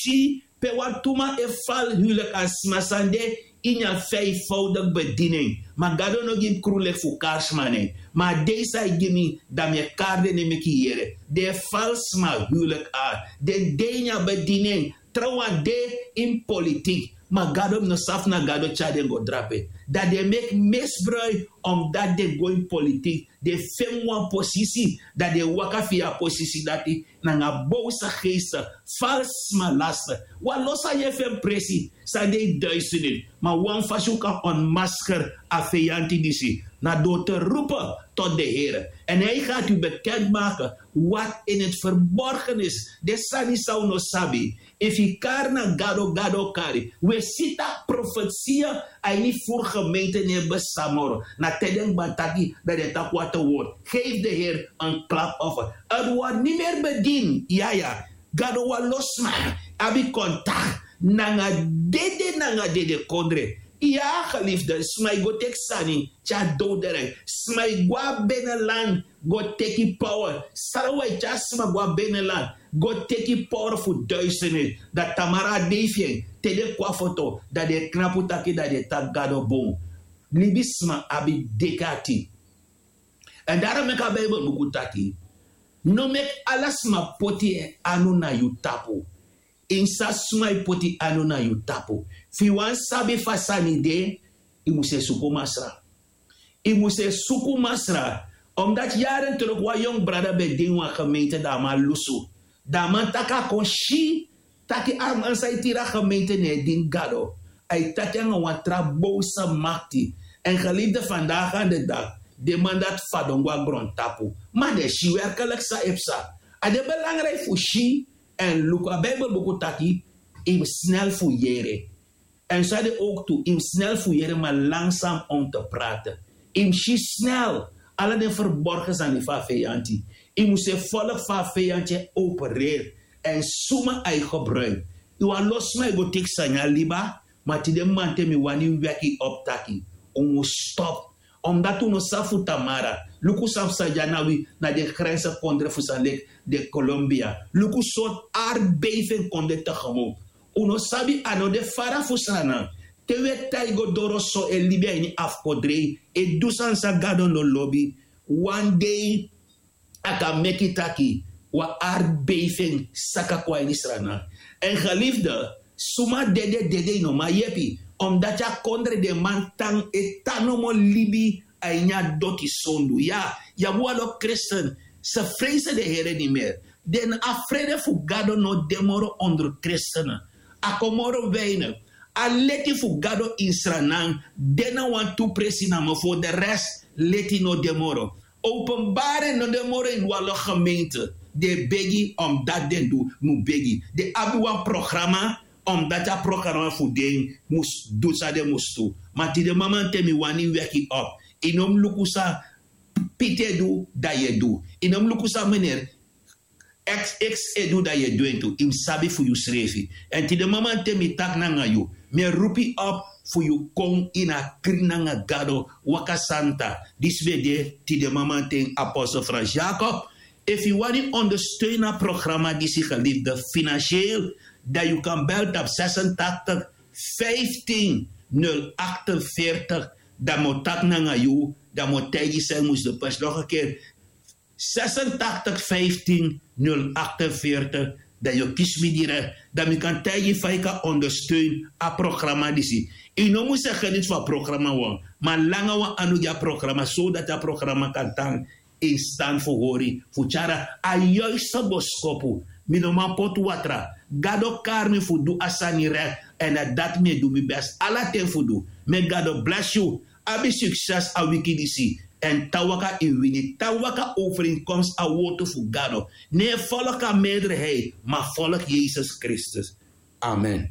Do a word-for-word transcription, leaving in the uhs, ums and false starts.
si pe wan tu man e fal hulik a sma san de ini a fifvoudik bedini en. Ma gado no gi mi krun leki fu kari sma nen. Ma a dei san a e gi mi, dan mi e kari den ne meki yere den e fal sma hulik. Ar den de ini a bedini en. Trawan de ini politik. Ma gado mi no sabi fu na gado tyari den go drape. Dan den e meki misbruik omdati den go ini politik. Den feni wan posisi, dan den e waka fu yu a posisi dati nanga bowse geeste, falsi sma laste. Wan lo san yu e feni presi san de yu duisenit. Ma wan fasi un kan ontmasker a feyanti disi na door te rupe tot de here. En hij gaat u bekend maken wat in het verborgen is. Den sani san un no sabi. Efu yu kari na gado, gado o kari. Un e si tak' profetia a ini furu gemeente no e besta moro. Na te den kba taki, dan den taki wata word. Geef de here een klap offer. A word nimeri bedini. Yaya. Gado wan lo sma abi kontakti nanga dede nanga dede kondre. Ya, geliefde, sma e go teki sani tyari dowdere. Sma e go na beneland go teki power. Sarawi e tyari sma go na beneland go teki power fu duisenit. Dan tamara a dei fu en te den kon na foto, dan den e knapu taki, dan den e taki gado bun. Libisma abi deki ati. Èn daro meki a Bijbel buku taki: no meki ala sma poti en anu na yu tapu. Yu mus sabi suma e poti anu na yu tapu. Fu yu wani sabi fa sani de, yu mus e suku Masra. Yu mus e suku Masra. Omdati yari teruk wan yongu brada ben de ini wan gemeente, dan a man lusu. Dan a man taki a kon si taki a man san e tiri a gemeente no e dini Gado. A e taki nanga wan tra bowse makti. Èn geliefde, vandaag aan de dag den man dati fadon go na grontapu. Ma den si werkelijk san e psa. A de belangrijk fu si èn luku. A Bijbel buku taki: yu mus snel fu yere. Èn san de ook tu, yu mus snel fu yere, ma langzaam om te praten. Yu mus si snel ala den verborgen sani fu a feyanti. Yu mus e volg fa a feyanti e opereer èn suma a e gebruik. Yu wan lo sma e go teki sani a liba. Ma tide mamanten mi wani weki yu op taki un mus stop. Omdati un no sabi fu tamara. Luku san psa dya na wi, na den grense kondre fu san leki den Colombia. Luku sortu aardbeving kon de tegemoet. Un no sabi, a no de fara fu Sranan. Te wi e taigi go doro so e libi a ini afkodrei, e du sani san Gado no lobi, wan dei a kan meki taki wan aardbeving saka kon a ini Sranan. Èn geliefde, suma dede, dede yu no man yepi. Omdati a kondre den man tan e tan nomo libi a ini a doti sondu. Ya, yu abi wan lo kristen, ze vrezen de Here niet meer. Den afrede fu Gado no de moro onder kristenen. A kon moro weinig. A leti fu Gado ini Sranan de na wan tu presi namo, voor de rest leti no de moro. Openbaring no de moro ini wan lo gemeente. Den e begi omdati den du, mus begi. Den abi wan programa, omdati a programa fu den mus du san den mus du. Ma tide mamanten mi wani weki yu op. Yu no mus luku san Piti e du, dan yu e du. Yu no mus luku san meneer X X e du, dan yu e du en tu. Yu mus sabi fu yusrefi. Èn tide mamanten mi taki nanga yu, mi e roepi yu op fu yu kon ini a krin nanga Gado, waka santa. Disi ben de tide mamanten apostel Frans Jacob. Efu yu wani ondersteun a programa disi, geliefde, financieel, dan yu kan bel tapu zesentachtig vijftien nul achtenveertig. Dan mi o taki nanga yu, dan mi o taigi yu san yu mus du. Pers nog een keer, zesentachtig vijftien nul achtenveertig. Dan yu o kisi mi direct, dan mi kan taigi yu fa yu kan ondersteun a programa disi. Yu no mus e geniet fu a programa wan, ma langa wan anu gi a programa, zodat a programa kan tan in stand fu hori, fu tyari a juiste boskopu. Mi no man poti watra. Gado kari mi fu du a sani rek, èn na dati mi e du mi best ala ten fu du. Meki Gado blesi yu. Abi sukses a wiki disi. Èn tan waka yu wini, tan waka overeenkomst a wortu fu Gado. No e volg a meerderheid, ma volg Jesus Kristus. Amen.